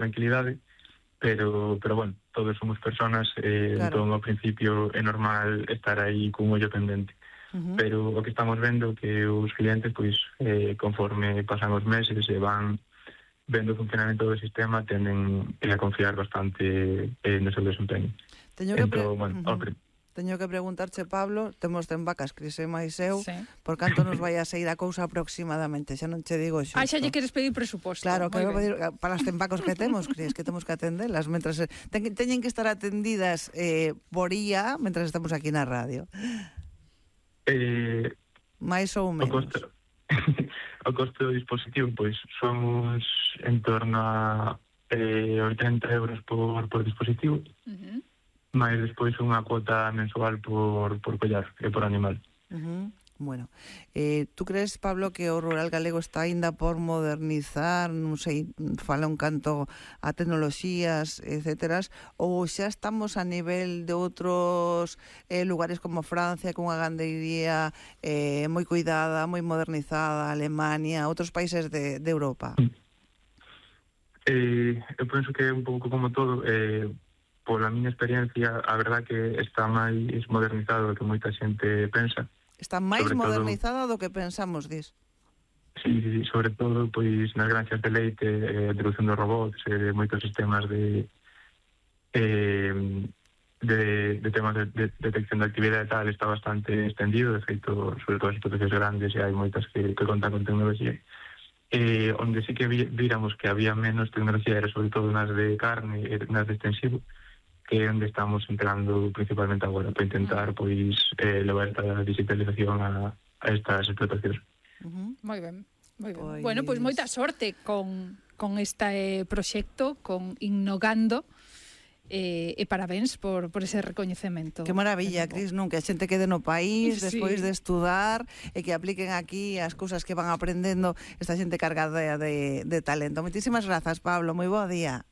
tranquilidade, pero bueno, todos somos personas, Claro. entón ao principio é normal estar aí cun ollo pendente. Pero o que estamos vendo que os clientes, pois, conforme pasan os meses e van vendo o funcionamento do sistema, tenden a confiar bastante no seu desempeño. Teño que Entón, bueno, Teño que preguntarche, Pablo, temos ten vacas, Cris e máis eu, Sí. por canto nos vai a sair a cousa aproximadamente, xa non che digo xusto. Xa lle queres pedir presuposto. Claro, Moi quero ben. pedir para as tempacos que temos, Cris, que temos que atendelas, mentras teñen que estar atendidas por IA, mentras estamos aquí na radio. Mais ou O menos. o costo do dispositivo, pois, somos en torno a 80 euros por dispositivo, máis despois unha cuota mensual por collar e por animal. Bueno, tú crees, Pablo, que o rural galego está aínda por modernizar, non sei, fala un canto a tecnoloxías, etcéteras, ou xa estamos a nivel de outros lugares como Francia, con unha gandeiría moi cuidada, moi modernizada, Alemania, outros países de Europa? Eu penso que é un pouco como todo, pola miña experiencia, a verdad que está máis modernizado do que moita xente pensa. Está máis modernizada do que pensamos, dis? Sí, sobre todo, pois, nas granxas de leite, a introducción dos robots, moitos sistemas de temas de detección de actividade e tal, está bastante extendido, de feito, sobre todo as explotacións grandes, e hai moitas que contan con tecnoloxía. Onde sí que víramos que había menos tecnoloxía era sobre todo nas de carne e nas de extensivo, que é onde estamos entrando principalmente agora para intentar pois levar esta digitalización a estas explotacións. Moi ben, moi ben. Bueno, pois moita sorte con este proxecto, con Innogando, e parabéns por ese recoñecemento. Que maravilla, Cris, non? Que a xente quede no país despois Sí. de estudar e que apliquen aquí as cousas que van aprendendo esta xente cargada de talento. Moitísimas grazas, Pablo, moi bo día.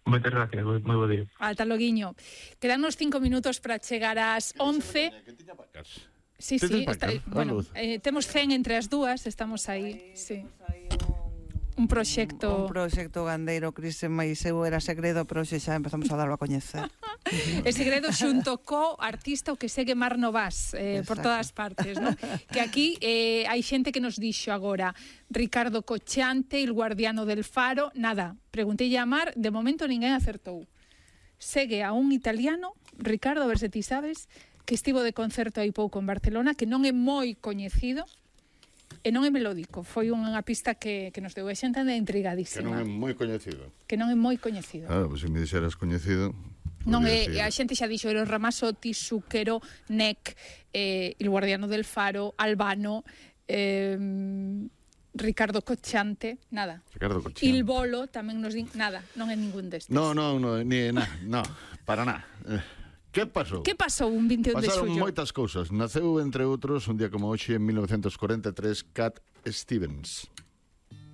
Moitas gracias, moi bo día. Ata loguiño. Quedanos 5 minutos para chegar ás 11. Sí, bueno, temos 100 entre as dúas, estamos aí, sí. Un proxecto gandeiro, Cris e máis eu era segredo, pero xa empezamos a darlo a coñecer. E segredo xunto co artista o que segue Mar Novás por todas partes, ¿no? Que aquí hai xente que nos dixo agora Ricardo Cochante, el guardiano del faro. Nada, preguntei a Mar, de momento ninguén acertou. Segue a un italiano, Ricardo, a ver se ti sabes, que estivo de concerto aí pouco en Barcelona, que non é moi coñecido e non é melódico. Foi unha pista que nos deu a xente anda intrigadísima. Que non é moi coñecido. Que non é moi coñecido. Pois se me dixeras coñecido... Non é, a xente xa dixo Eros Ramazzotti, Zucchero, Nek, El Guardiano del Faro, Albano, Ricardo Cochante, nada. Ricardo Cochante. Il Bolo tamén nos din, nada, non é ningún destes. No, para nada. Que pasou? Que pasou un 21 de Pasaron xullo? moitas cousas. Naceu, entre outros, un día como hoxe, en 1943, Cat Stevens.